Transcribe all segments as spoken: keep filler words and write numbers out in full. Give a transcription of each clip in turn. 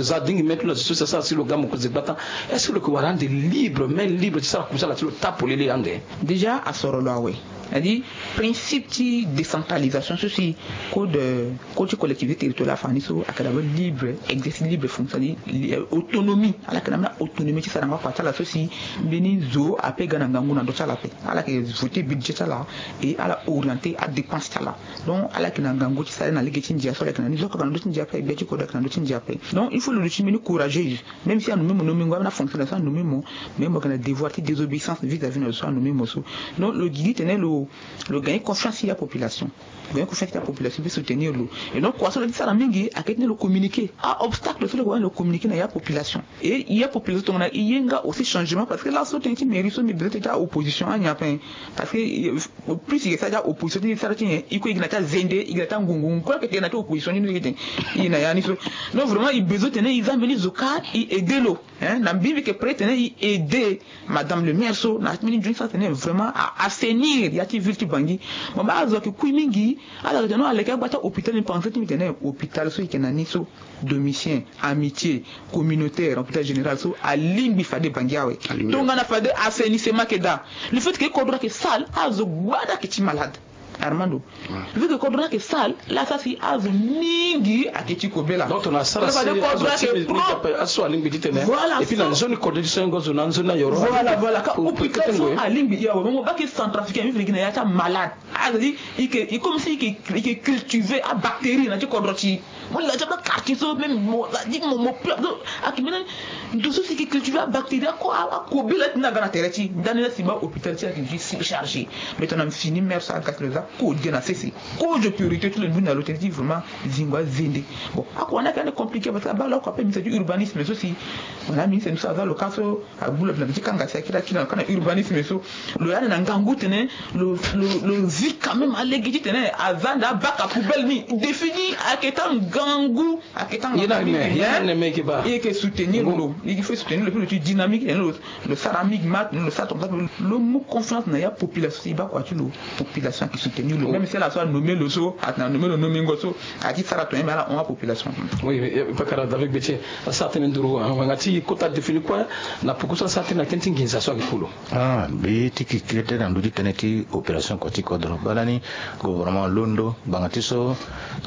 Za dingi me ti lo na zo so si asara si lo ga mokonzi gbata. Est-ce que lo yeke wara ande libre, main libre ti sara kusala ti lo ta polele ande? Déjà asoro lo awe. C'est-à-dire, principe ti décentralisation so si code, code ti collectivité territoriale afa ni so ayeke d'abord libre, exercice libre fonction, c'est-à-dire, euh, autonomie. Ala yeke na ambeni autonomie ti sara yango akua ti ala so si mbeni zo ape ga na ngangu na ndö ti ala ape. Ala yeke voter budget ti ala et ala orienter adépense ti ala. Donc ala yeke na ngangu ti sara ye na lege ti ndia so ala yeke na ni zo kaka na ndö ti ndia ape, gbia ti kodro ayeke na ndö ti ndia ape. Donc il faut lo duti mbeni courageuse. Même si anommé mo, nommé ngo, ambeni afonctionnaire so anommé mo, mais mo yeke na devoir ti désobéissance vis-à-vis na zo so anommé mo so. Donc lo gi titene lo, lo gagner confiance ti apopulation. Lo gagner confiance ti apopulation pe soutenir lo. Et donc kua so lo yeke ti sara mingi ayeke titene lo communiquer aobstacle so lo yeke wani lo communiquer na ya population. Et ya population tongana e ye nga aussi changement, parce que laso tënë ti mairie so mbi besoin ti opposition anyen ape. Parce que, euh, plus e yeke sara ti aopposition ti e sara ti nyen, e kue e yeke na ti azende, e yeke na ti angungu, kue ayeke tene na ti opposition ni, e yeke tene e na ya ni so. Donc vraiment e besoin titene e za mbeni zo kâ e aider lo. Hein, na mbi mbi yeke prêt titene e aider madame le maire so na mbeni nzoni so atene vraiment a assainir ya ti ville ti Bangui. Mo baa azo ayeke kui mingi. Ala yeke tene non, aleke agba ti ahôpital ni, pensé ti mbi tene hôpital so e yeke na ni so, Domitien, Amitié, Communautaire, hôpital général so alingbi fade Bangui awe. Alingbi. Tongana fade assainissement ayeke daa, le fait que kodro ayeke sale, azo gbada ayeke ti malade. Armando. Ouais. Vu que kodro ni ayeke sale, la asara si azo mingi ayeke ti kobela. Donc tongana asara si azo ti mbi, mbi ti ape aso alingbi titene. Voilà. Et puis na nzoni kodro ti so, ngonzo na nzoni ayoro. Voilà, voilà. Ka hôpital so alingbi ya awe, mo baa ke Centrafricain, mbi fini gi na ya ti amalade. Ah, c'est-à-dire, e ke, e comme si e ke, e ke cultiver abactérie na ti kodro ti e. Mo laa ti abakarti so même mo, c'est-à-dire mo, mo pe, donc ayeke mbeni ndo so si e ke cultiver abactérie, ako, a, akobela ti ni aga na tere ti e. Ndani laa si baa hôpital ti e ayeke gi surchargé. Mais tongana mbi fini maire so aga ti lo za kode na sese. Kozo priorité ti lo ni na lo tene ti vraiment zingo azende. Bon, ako wani ayeke ande compliqué parce que abaa lo ako ape ministre ti urbanisme so si, voilà, ministre ni so aza lo ka so agbu lo na mbi ti kanga si akiri akiri na lo ka na urbanisme so. Lo yande na ngangu tene lo, lo, lo zi quand même alege titene aza ande abaka poubelle ni. Défi ni ayeke ti angangu, ayeke ti angangu mingi. Ye na me, ye na me, ye ke baa. E yeke soutenir lo. E yeke soutenir lo, puis lo ti dynamique tene lo, lo sara migmat, lo sara tongaso, lo mu confiance na ya population so e baa kua ti lo. Population ayeke soutenir lo. Même si ala so anommé lo so, atene anommé lo nomingo so, ayeke ti sara tonga, mais ala hon apopulation. Oui, mais, eh, pakara David Gbetien, asara tënë nduru, ah, ngbanga ti kota défi ni kue, na poko so asara tënë na tënë ti nginza so ayeke kulu. Ah, mbi ti keke tënë na ndö ti tënë ti opération kua ti kodro. Baa lani gouvernement alondo ngbanga ti so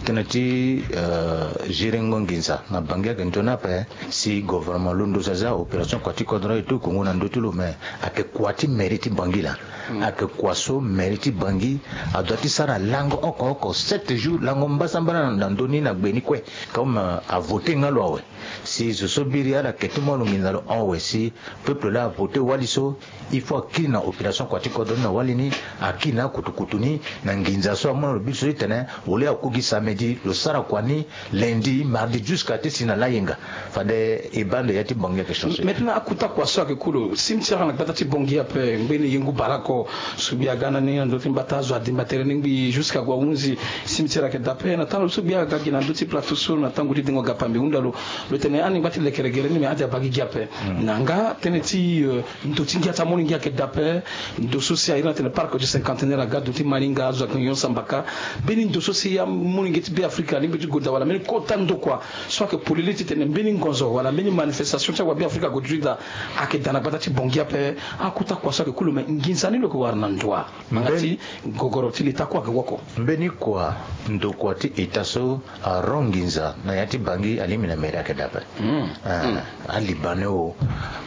tënë ti, euh, gérengo nginza na Bangui ayeke nzoni ape. Si gouvernement alondo so aza opération kua ti kodro e to kongo na ndö ti lo, mais ayeke kua ti mairie ti Bangui laa. Hmm. Ayeke kua so mairie ti Bangui adoit ti sara lango oko oko, sept jours, lango mbasambala na, na ndö ni na gbe ni kue. Comme, euh, avoté nga lo awe. Si zo so biri ala yeke ti mu lo nginza lo hon awe, si peuple laa avoté wali so, il faut akiri na opération kua ti kodro ni na wali ni, akiri na akutukutu ni, na nginza so amu na lo biso titene, au lieu aku gi samedi, lo sara kua ni lundi, mardi, jusqu'à ti si na layenga. Fade e baa ande ya ti Bangui ayeke changer. Maintenant, akuta kua so ayeke kulu, cimetière na gbata ti Bangui ape, ngbeni ye ngu bara oko, so gbia aga na ni na ndö ti mbata, azo adimba tere ni ngbii, jusqu'à gue ahunzi, cimetière ayeke daa ape. Na tango so gbia aga gi na ndö ti plateau so, na tango ti dengo gapa mbi hunda lo, lo tene ani ngba ti lekere gere ni, me ade abaa gi gi ape. Hmm. Na nga tënë ti, euh, ndo ti ngia ti amolenge ayeke daa ape. Ndo so si a iri ni atene parc du cinquantenaire aga ndo ti Malinga, azo ayeke nyon sambaka. Mbeni ndo so si amolenge ti Beafrika alingbi ti gue daa, wala mbeni kota ndokua so ayeke polele titene mbeni ngonzo wala mbeni manifestation ti awabeafrika ague duti daa, ayeke daa na gbata ti Bangui ape. Akuta kua so ayeke kulu, me nginza ni lo yeke wara na ndua? Ngbanga ti gogoro ti leta kue ayeke woko. Mbeni kua ndokua ti eta so ahon nginza na ya ti Bangui alingbi na mairie ayeke daa ape. Hmm. Ah, hmm. Alibanais o,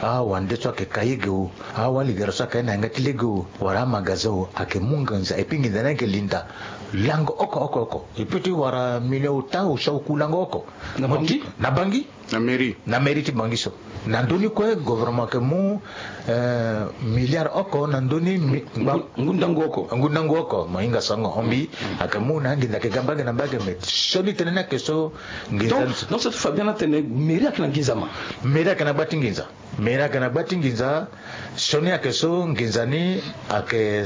awande so ayeke ka yege o, awaligara so ayeke na yanga ti lege o, wala amagazin o, ayeke mu nginza, et puis nginza ni ayeke linda lango oko oko oko. E peut ti wara million ota, osia oku lango oko. Na Bangui? Na Bangui. Na mairie. Na mairie ti Bangui so. Na ndö ni kue gouvernement ayeke mu, euh, milliard oko na ndö ni mi-, ngu-, ngu ndangu oko. Ngu ndangu oko, mo hinga sango hon mbi. Mm. Ayeke mu na anginza ayeke ga mbage na mbage, mais sioni tënë ni ayeke so nginza. Donc, donc, so ti fa bien atene mairie ayeke na nginza ma? Mairie ayeke na gba ti nginza. Mairie ayeke na gba ti nginza. Sioni ayeke so nginza ni ayeke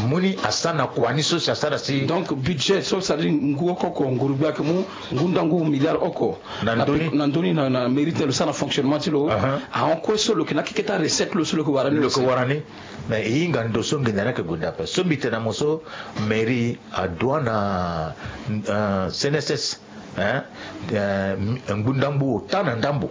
mu ni asara na kua ni so si asara si. Donc budget so, c'est-à-dire ngu oko oko nguru gbia ayeke mu ngu ndangu milliard oko. Na ndö ni? Na ndö ni na, na mairie ti lo sara na fonctionnement ti lo. Aha. Ahon kue so lo yeke na akeketa recette lo so lo yeke wara ni. Lo yeke wara ni. Mais e hinga ndo so nginza ni ayeke gue daa ape. So mbi tene na mo so, mairie adoit na, euh, C N S S. Hein? Eh, ngu ndambu ota na ndambu.